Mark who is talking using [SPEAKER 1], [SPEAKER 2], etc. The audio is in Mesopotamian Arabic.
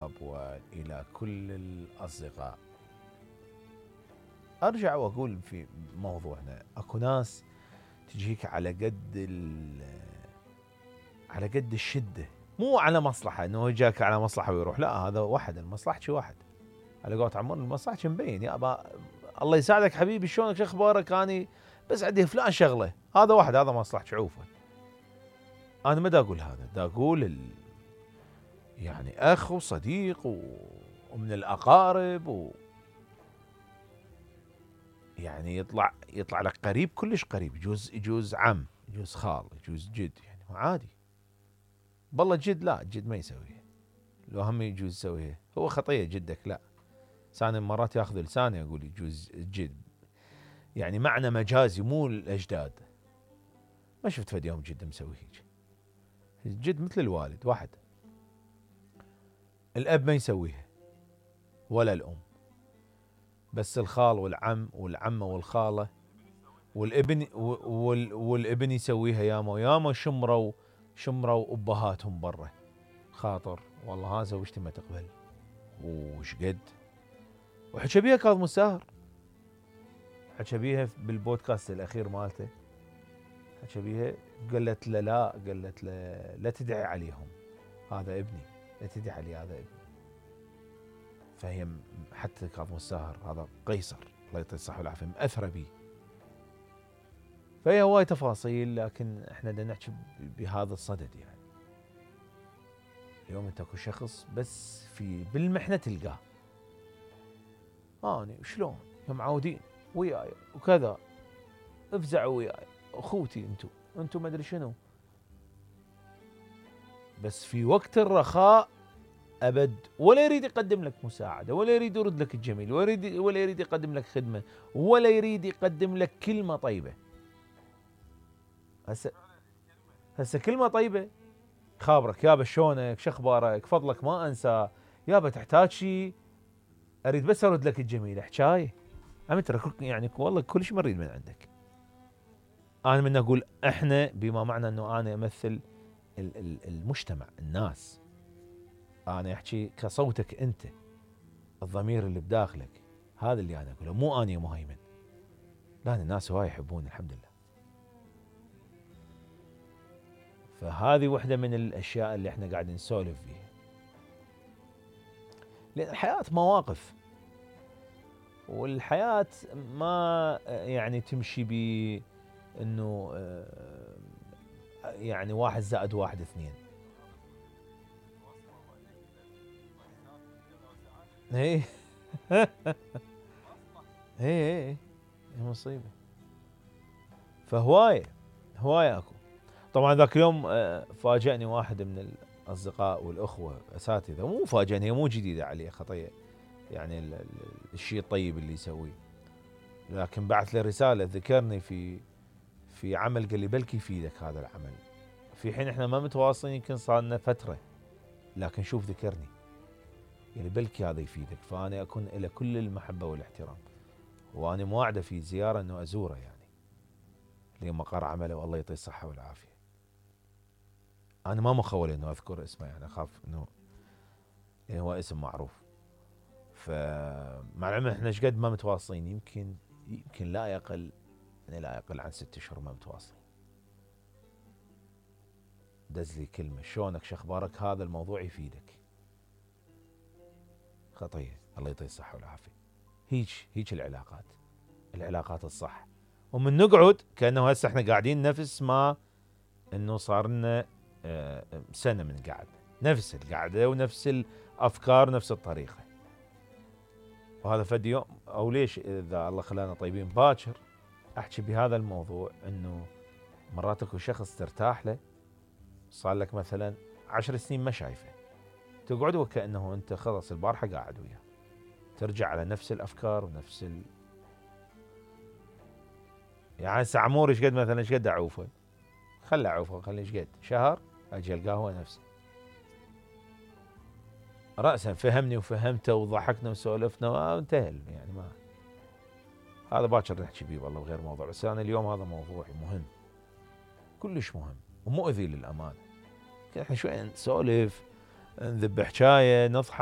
[SPEAKER 1] وإلى كل الأصدقاء. أرجع وأقول في موضوعنا، أكو ناس تجيك على قد الشدة، مو على مصلحة إنه جاك على مصلحة ويروح، لا، هذا واحد المصلحة شي واحد، على قولة عمر المصلحة مبين، يابا الله يساعدك حبيبي، شلونك شو أخبارك، أني بس عندي فلان شغلة، هذا واحد هذا مصلحة شعوفه. أنا ما دا أقول هذا، دا أقول يعني أخ وصديق ومن الأقارب يعني يطلع لك قريب، كلش قريب، يجوز عم، يجوز خال، يجوز جد، يعني عادي. بالله جد لا، جد ما يسويها، لو هم يجوز يسويها، هو خطية جدك لا. ثاني مرات ياخذ لساني يقول يجوز جد، يعني معنى مجازي مو الأجداد. ما شفت فد يوم جد مسوي هيك. الجد مثل الوالد واحد. الأب ما يسويها ولا الأم، بس الخال والعم والعمة والخالة والابن يسويها. ياما شمروا أبهاتهم برا، خاطر والله ها زوجتي ما تقبل وش قد. وحكى بيها كاظم الساهر، حكى بيها بالبودكاست الأخير مالته، حكى بيها، قالت له لا تدعي عليهم، هذا ابني، لا تدعي علي، هذا ابني. فهي حتى كاظم الساهر هذا قيصر الله يعطيه الصحة والعافية مأثرة بيه. فهي هواي تفاصيل، لكن احنا بدنا نحكي بهذا الصدد. يعني اليوم انت اكو شخص بس بالمحنة تلقاه، اني شلون معودين وياي وكذا، افزعوا وياي اخوتي، انتم ما ادري شنو، بس في وقت الرخاء ابد ولا يريد يقدم لك مساعده، ولا يريد يرد لك الجميل، ولا يريد يقدم لك خدمه، ولا يريد يقدم لك كلمه طيبه. هسه كلمه طيبه، خابرك يابا شلونك، شو اخبارك، فضلك ما انسى، يابا تحتاج شيء، اريد بس ارد لك الجميل، حكايه عم ترى يعني والله كل شيء مريد من عندك. انا من اقول احنا بما معنى انه انا امثل المجتمع، الناس، انا احكي كصوتك انت، الضمير اللي بداخلك، هذا اللي انا اقوله، مو اني مهيمن، لا، الناس هواي يحبون الحمد لله. فهذه وحده من الاشياء اللي احنا قاعدين نسولف فيها، لان الحياه مواقف، والحياه ما يعني تمشي انه يعني 1+1=2. ايه ايه مصيبه. فهوايه اكو. طبعا ذاك اليوم فاجأني واحد من الاصدقاء والاخوه اساتذه، مو فاجأني، هي مو جديده عليه خطيه، يعني الشيء الطيب اللي يسويه، لكن بعث لي رساله ذكرني في عمل، قال لي بلكي يفيدك هذا العمل، في حين احنا ما متواصلين، يمكن صار لنا فتره، لكن شوف ذكرني، قال لي بلكي هذا يفيدك. فانا اكون له كل المحبه والاحترام، وانا مواعده في زياره انه ازوره، يعني لمقر عمله، والله يعطيه الصحه والعافيه. انا ما مخول انه اذكر اسمه، يعني اخاف انه يعني هو اسم معروف. فمع العلم احنا ايش قد ما متواصلين، يمكن لا يقل عن 6 اشهر ما متواصلين. دز لي كلمه، شلونك، شو اخبارك، هذا الموضوع يفيدك، خطيه، الله يعطيه الصحه والعافيه. هيك العلاقات الصح. ومن نقعد كانه هسه احنا قاعدين نفس ما انه صار لنا سنه من قعد، نفس القعده ونفس الافكار، نفس الطريقه. وهذا فد يوم، او ليش اذا الله خلانا طيبين باكر احكي بهذا الموضوع، انه مرات اكو شخص ترتاح له، صار لك مثلا 10 سنين ما شايفه، تقعد وكانه انت خلص البارحه قاعد وياه، ترجع على نفس الافكار ونفس يعني هسه عمور ايش قد مثلا، ايش قد اعوفه، خله اعوفه، خليه ايش قد شهر اجي القاه هو نفسه، راسا فهمني وفهمته وضحكنا وسولفنا وانتهى، يعني ما هذا باكر نحكي بيه والله بغير موضوع. بس انا اليوم هذا موضوعي مهم، كلش مهم ومؤذي للامانه. احنا شوي نسولف نذب حجايه نضحك.